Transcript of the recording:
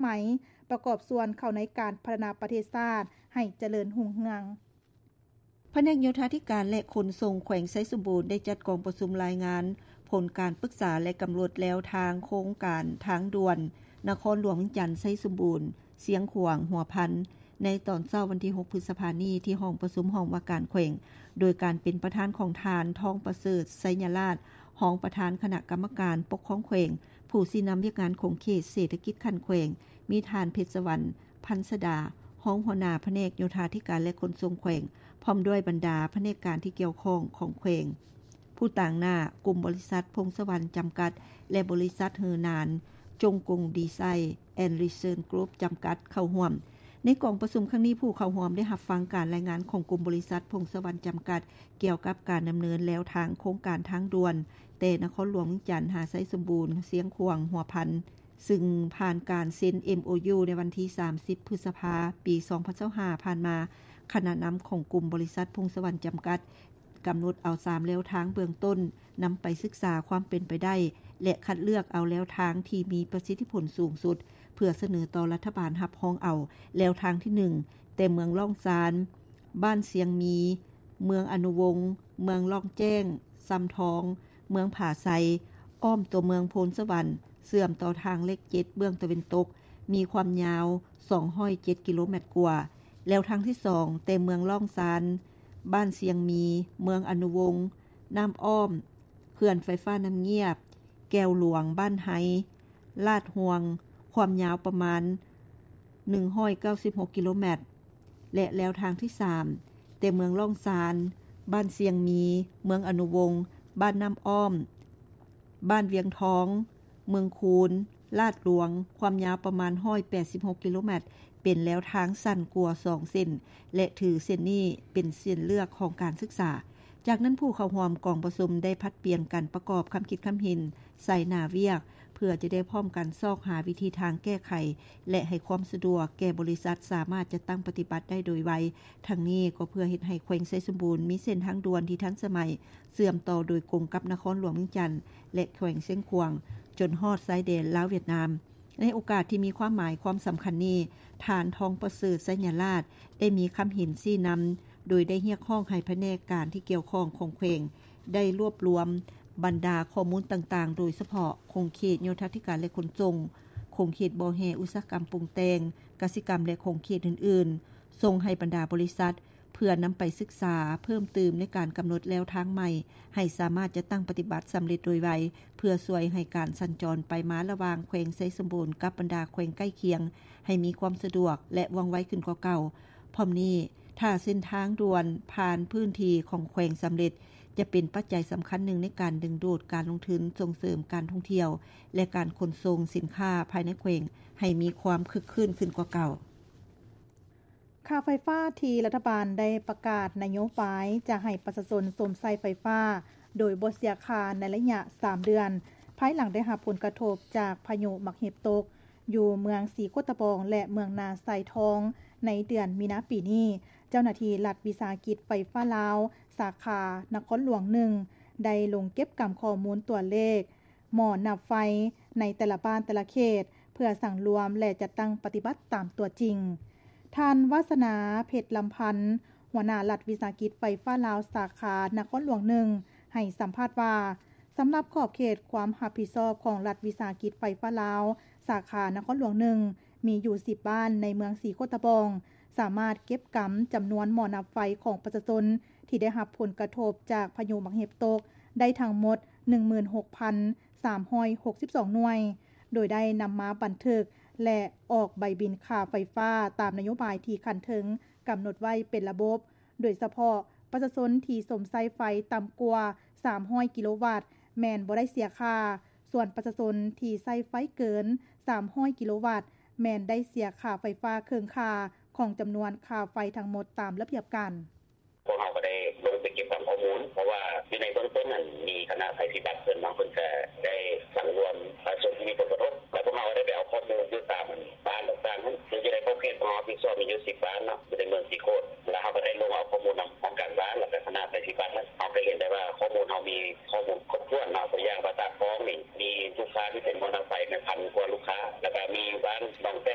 ໄໝ ປະກອບສ່ວນເຂົ້າໃນການພັດທະນາປະເທດຊາດໃຫ້ຈະເລີນຮຸ່ງເຮືອງ. ພະແນກໂຍທາທິການ ແລະ ຂົນສົ່ງແຂວງໄຊສົມບູນ ໄດ້ຈັດກອງປະຊຸມລາຍງານຜົນການປຶກສາ ແລະ ກຳນົດແນວທາງໂຄງການທາງດ່ວນ ນະຄອນຫຼວງວຽງຈັນ ໄຊສົມບູນ ຊຽງຂວາງ ຫົວພັນ ໃນຕອນເຊົ້າວັນທີຫົກ ພຶດສະພານີ້ ທີ່ຫ້ອງປະຊຸມຫ້ອງວ່າການແຂວງ ໂດຍການເປັນປະທານຂອງທ່ານ ທອງປະເສີດ ໄຊຍະລາດ ຮອງປະທານຄະນະກຳມະການປົກຄອງແຂວງ, ຜູ້ຊີ້ນຳວຽກງານຂົງເຂດເສດຖະກິດຂັ້ນແຂວງ, ມີທ່ານ ເພັດສະຫວັນ ພັນສະດາ ຮອງຫົວໜ້າພະແນກໂຍທາທິການ ແລະ ຂົນສົ່ງແຂວງ ພ້ອມດ້ວຍບັນດາພະແນກການທີ່ກ່ຽວຂ້ອງຂອງແຂວງ, ຜູ້ຕາງໜ້າກຸ່ມບໍລິສັດ ພົງສະຫວັນ ຈຳກັດ ແລະ ບໍລິສັດ ເຮີນານ ຈົງກົງ ດີໄຊ ແອນ ຣີເຊີດ ກຣຸບ ຈຳກັດ ເຂົ້າຮ່ວມ. ໃນກອງປະຊຸມຄັ້ງນີ້, ຜູ້ເຂົ້າຮ່ວມໄດ້ຮັບຟັງການລາຍງານຂອງກຸ່ມບໍລິສັດ ພົງສະຫວັນ ຈຳກັດ ກ່ຽວກັບການດຳເນີນແນວທາງໂຄງການທາງດ່ວນ ແຕ່ນະຄອນຫຼວງວຽງຈັນຫາໄຊສົມບູນ ຊຽງຂວາງ ຫົວພັນ ຊຶ່ງຜ່ານການເຊັນ ເອັມໂອຢູ ໃນວັນທີສາມສິບ ພຶດສະພາ ປີສອງພັນຊາວຫ້າ ຜ່ານມາ, ຄະນະນຳຂອງກຸ່ມບໍລິສັດ ພົງສະຫວັນ ຈຳກັດ ກຳນົດເອົາສາມແນວທາງເບື້ອງຕົ້ນ ນຳໄປສຶກສາຄວາມເປັນໄປໄດ້ ແລະ ຄັດເລືອກເອົາແນວທາງທີ່ມີປະສິດທິຜົນສູງສຸດ ເພື່ອສະເໜີຕໍ່ລັດຖະບານຮັບຮອງເອົາ. ແນວທາງທີໜຶ່ງ ແຕ່ເມືອງລ້ອງຊານ, ບ້ານຊຽງມີ, ເມືອງອະນຸວົງ, ເມືອງລ້ອງແຈ້ງ, ຊຳທອງ, ເມືອງຜາໄຊ, ອ້ອມຕົວເມືອງໂພນສະຫວັນ, ເຊື່ອມຕໍ່ທາງເລກເຈັດເບື້ອງຕາເວັນຕົກ, ມີຄວາມຍາວສອງຮ້ອຍເຈັດກິໂລແມັດກວ່າ. ແນວທາງທີສອງ ແຕ່ເມືອງລ້ອງຊານ, ບ້ານຊຽງມີ, ເມືອງອະນຸວົງ, ນ້ຳອ້ອມ, ເຂື່ອນໄຟຟ້ານ້ຳງຽບ, ແກ້ວຫຼວງ, ບ້ານໄຮ, ລາດຮ່ວງ, ຄວາມຍາວປະມານໜຶ່ງຮ້ອຍເກົ້າສິບຫົກກິໂລແມັດ ແລະ ແນວທາງທີສາມ ແຕ່ເມືອງລ້ອງຊານ, ບ້ານຊຽງມີ, ເມືອງອະນຸວົງ, ບ້ານນ້ຳອ້ອມ, ບ້ານວຽງທອງ, ເມືອງຄູນ, ລາດຫຼວງ, ຄວາມຍາວປະມານຮ້ອຍແປດສິບຫົກກິໂລແມັດ ເປັນແນວທາງສັ້ນກວ່າສອງເສັ້ນ ແລະ ຖືເສັ້ນນີ້ເປັນເສັ້ນເລືອກຂອງການສຶກສາ. ຈາກນັ້ນ, ຜູ້ເຂົ້າຮ່ວມກອງປະຊຸມໄດ້ຜັດປ່ຽນກັນປະກອບຄຳຄິດຄຳເຫັນໃສ່ໜ້າວຽກ ເພື່ອຈະໄດ້ພ້ອມກັນຊອກຫາວິທີທາງແກ້ໄຂ ແລະ ໃຫ້ຄວາມສະດວກແກ່ບໍລິສັດສາມາດຈັດຕັ້ງປະຕິບັດໄດ້ໂດຍໄວ. ທັງນີ້ກໍເພື່ອເຮັດໃຫ້ແຂວງໄຊສົມບູນມີເສັ້ນທາງດ່ວນທີ່ທັນສະໄໝ ເຊື່ອມຕໍ່ໂດຍກົງກັບນະຄອນຫຼວງວຽງຈັນ ແລະ ແຂວງຊຽງຂວາງ ຈົນຮອດຊາຍແດນລາວຫວຽດນາມ. ໃນໂອກາດທີ່ມີຄວາມໝາຍຄວາມສຳຄັນນີ້, ທ່ານ ທອງປະເສີດ ໄຊຍະລາດ ໄດ້ມີຄຳເຫັນຊີ້ນຳ ໂດຍໄດ້ຮຽກຮ້ອງໃຫ້ພະແນກການທີ່ກ່ຽວຂ້ອງຂອງແຂວງ ໄດ້ລວບລວມບັນດາຂໍ້ມູນຕ່າງໆ ໂດຍສະເພາະຂົງເຂດໂຍທາທິການ ແລະ ຂົນສົ່ງ, ຂົງເຂດບໍ່ແຮ່ອຸດສາຫະກຳປຸງແຕ່ງ, ກະສິກຳ ແລະ ຂົງເຂດອື່ນໆ ສົ່ງໃຫ້ບັນດາບໍລິສັດ ເພື່ອນຳໄປສຶກສາເພີ່ມຕື່ມໃນການກຳນົດແນວທາງໃໝ່ ໃຫ້ສາມາດຈັດຕັ້ງປະຕິບັດສຳເລັດໂດຍໄວ, ເພື່ອຊ່ວຍໃຫ້ການສັນຈອນໄປມາລະຫວ່າງແຂວງໄຊສົມບູນກັບບັນດາແຂວງໃກ້ຄຽງ ໃຫ້ມີຄວາມສະດວກ ແລະ ວ່ອງໄວຂຶ້ນກວ່າເກົ່າ. ພ້ອມນີ້, ຖ້າເສັ້ນທາງດ່ວນຜ່ານພື້ນທີ່ຂອງແຂວງສຳເລັດ, ຈະເປັນປັດໄຈສຳຄັນໜຶ່ງໃນການດຶງດູດການລົງທຶນ, ສົ່ງເສີມການທ່ອງທ່ຽວ ແລະ ການຂົນສົ່ງສິນຄ້າພາຍໃນແຂວງໃຫ້ມີຄວາມຄຶກຄື້ນຂຶ້ນກວ່າເກົ່າ. ຄ່າໄຟຟ້າທີ່ລັດຖະບານໄດ້ປະກາດນະໂຍບາຍຈະໃຫ້ປະຊາຊົນຊົມໃຊ້ໄຟຟ້າໂດຍບໍ່ເສຍຄ່າໃນໄລຍະສາມເດືອນ, ພາຍຫຼັງໄດ້ຮັບຜົນກະທົບຈາກພາຍຸໝາກເຫັບຕົກ ຢູ່ເມືອງສີໂຄດຕະບອງ ແລະ ເມືອງນາຊາຍທອງ ໃນເດືອນມີນາປີນີ້, ເຈົ້າໜ້າທີ່ລັດວິສາຫະກິດໄຟຟ້າລາວ ສາຂານະຄອນຫຼວງໜຶ່ງ ໄດ້ລົງເກັບກຳຂໍ້ມູນຕົວເລກ ໝໍ້ນັບໄຟໃນແຕ່ລະບ້ານແຕ່ລະເຂດ ເພື່ອສັງລວມ ແລະ ຈັດຕັ້ງປະຕິບັດຕາມຕົວຈິງ. ທ່ານ ວາສະໜາ ເພັດລຳພັນ ຫົວໜ້າລັດວິສາຫະກິດໄຟຟ້າລາວ ສາຂານະຄອນຫຼວງໜຶ່ງ ໃຫ້ສຳພາດວ່າ, ສຳລັບຂອບເຂດຄວາມຮັບຜິດຊອບຂອງລັດວິສາຫະກິດໄຟຟ້າລາວ ສາຂານະຄອນຫຼວງໜຶ່ງ ມີຢູ່ສິບບ້ານໃນເມືອງສີໂຄດຕະບອງ, ສາມາດເກັບກຳຈຳນວນໝໍ້ນັບໄຟຂອງປະຊາຊົນທີ່ໄດ້ຮັບຜົນກະທົບຈາກພາຍຸໝາກເຫັບຕົກໄດ້ທັງໝົດໜຶ່ງໝື່ນຫົກພັນສາມຮ້ອຍຫົກສິບສອງໜ່ວຍ, ໂດຍໄດ້ນຳມາບັນທຶກ ແລະ ອອກໃບບິນຄ່າໄຟຟ້າຕາມນະໂຍບາຍທີ່ຂັ້ນເທິງກຳນົດໄວ້ເປັນລະບົບ, ໂດຍສະເພາະປະຊາຊົນທີ່ຊົມໃຊ້ໄຟຕ່ຳກວ່າສາມຮ້ອຍກິໂລວັດ ແມ່ນບໍ່ໄດ້ເສຍຄ່າ, ສ່ວນປະຊາຊົນທີ່ໃຊ້ໄຟເກີນສາມຮ້ອຍກິໂລວັດ ແມ່ນໄດ້ເສຍຄ່າໄຟຟ້າເຄິ່ງຄ່າຂອງຈຳນວນຄ່າໄຟທັງໝົດຕາມລະບຽບການ. ພວກເຮົາກໍໄດ້ລົງໄປເກັບກຳຂໍ້ມູນ ເພາະວ່າຢູ່ໃນເບື້ອງຕົ້ນນັ້ນ ມີຄະນະໄພພິບັດເພິ່ນເນາະ ເພິ່ນກໍໄດ້ສັງລວມປະຊາຊົນທີ່ມີຜົນກະທົບ ແລ້ວພວກເຮົາກໍໄດ້ໄປເອົາຂໍ້ມູນຢູ່ຕາມບ້ານຕ່າງໆນັ້ນ ເພື່ອຈະໄດ້ຂອບເຂດຂອງເຮົາຮັບຜິດຊອບມີຢູ່ສິບບ້ານເນາະ ຢູ່ໃນເມືອງສີໂຄດ